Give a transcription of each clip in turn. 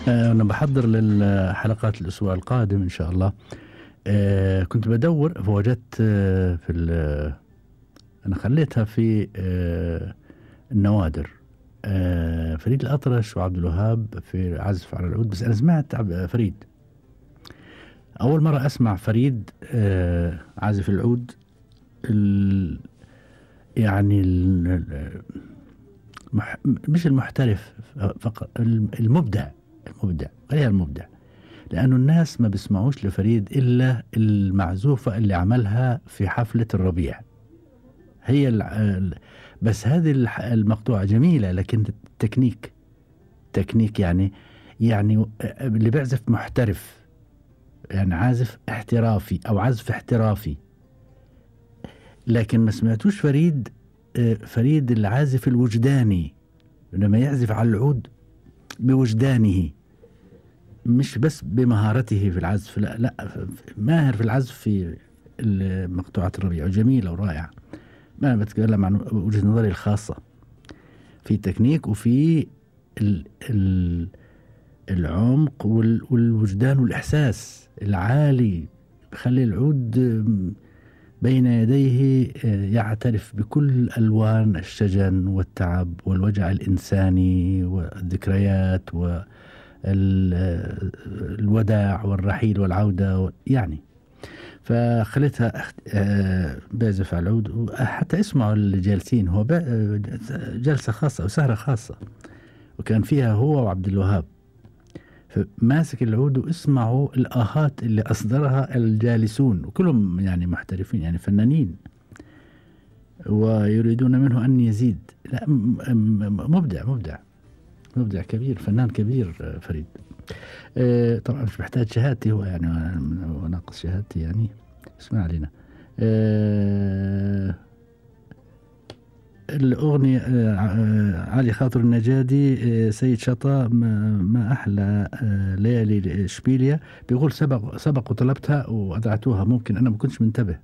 أنا بحضر للحلقات الأسبوع القادم إن شاء الله. كنت بدور فوجدت أنا خليتها في النوادر. فريد الأطرش وعبد الوهاب في عزف على العود، بس أنا سمعت فريد أول مرة أسمع فريد عازف العود. يعني مش المحترف فقط، المبدع غير المبدع، لأنه الناس ما بيسمعوش لفريد إلا المعزوفة اللي عملها في حفلة الربيع. هي بس هذه المقطوعة جميلة، لكن تكنيك يعني اللي بيعزف محترف، يعني عازف احترافي أو عزف احترافي. لكن ما سمعتوش فريد العازف الوجداني، لما يعزف على العود بوجدانه، مش بس بمهارته في العزف، لا ماهر في العزف في مقطوعة الربيع، جميلة ورائعة. ما أنا بتكلم عن وجهة نظري الخاصة في تكنيك وفي العمق والوجدان والإحساس العالي، بخلي العود بين يديه يعترف بكل ألوان الشجن والتعب والوجع الإنساني والذكريات والوداع والرحيل والعودة يعني. فخليتها بعزف على العود، حتى اسمعوا الجالسين، هو جلسة خاصة وسهرة خاصة، وكان فيها هو وعبد الوهاب، فماسك العود واسمعوا الآهات اللي أصدرها الجالسون، وكلهم يعني محترفين، يعني فنانين، ويريدون منه أن يزيد. لا مبدع كبير، فنان كبير فريد. طبعا مش محتاج شهادتي هو، يعني وناقص شهادتي يعني، اسمع علينا. الأغنية علي خاطر النجادي، سيد شطا، ما أحلى ليالي إشبيلية. بيقول سبق وطلبتها وأذعتوها، ممكن أنا ما كنتش منتبه،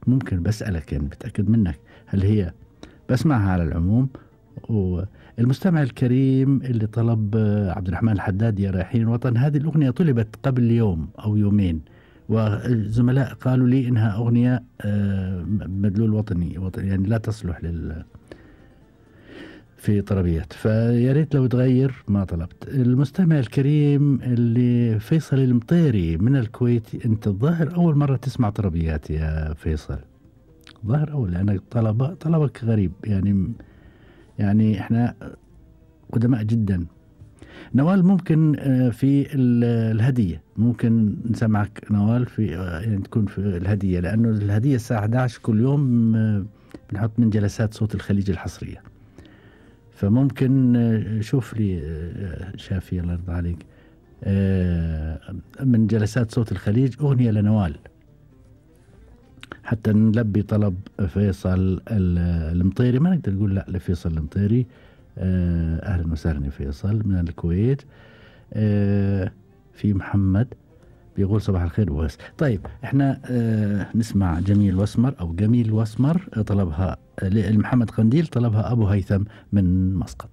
ممكن بسألك يعني بتأكد منك هل هي، بسمعها على العموم. والمستمع الكريم اللي طلب عبد الرحمن الحداد يا رايحين الوطن، هذه الأغنية طلبت قبل يوم أو يومين، والزملاء قالوا لي إنها أغنية مدلول وطني يعني لا تصلح في طربيات، فيا ريت لو تغير ما طلبت. المستمع الكريم اللي فيصل المطيري من الكويت، أنت الظاهر أول مرة تسمع طربيات يا فيصل، ظاهر أول، لأن طلبك غريب يعني إحنا قدماء جدا. نوال ممكن في الهدية، ممكن نسمعك نوال في يعني تكون في الهدية، لأنه الهدية الساعة 11 كل يوم بنحط من جلسات صوت الخليج الحصرية، فممكن شوف لي شافي الله يرضى عليك من جلسات صوت الخليج أغنية لنوال، حتى نلبي طلب فيصل المطيري. ما نقدر نقول لا لفيصل المطيري. أهلا وسهلا فيصل من الكويت. في محمد بيقول صباح الخير وبس. طيب احنا نسمع جميل واسمر طلبها محمد قنديل، طلبها أبو هيثم من مسقط.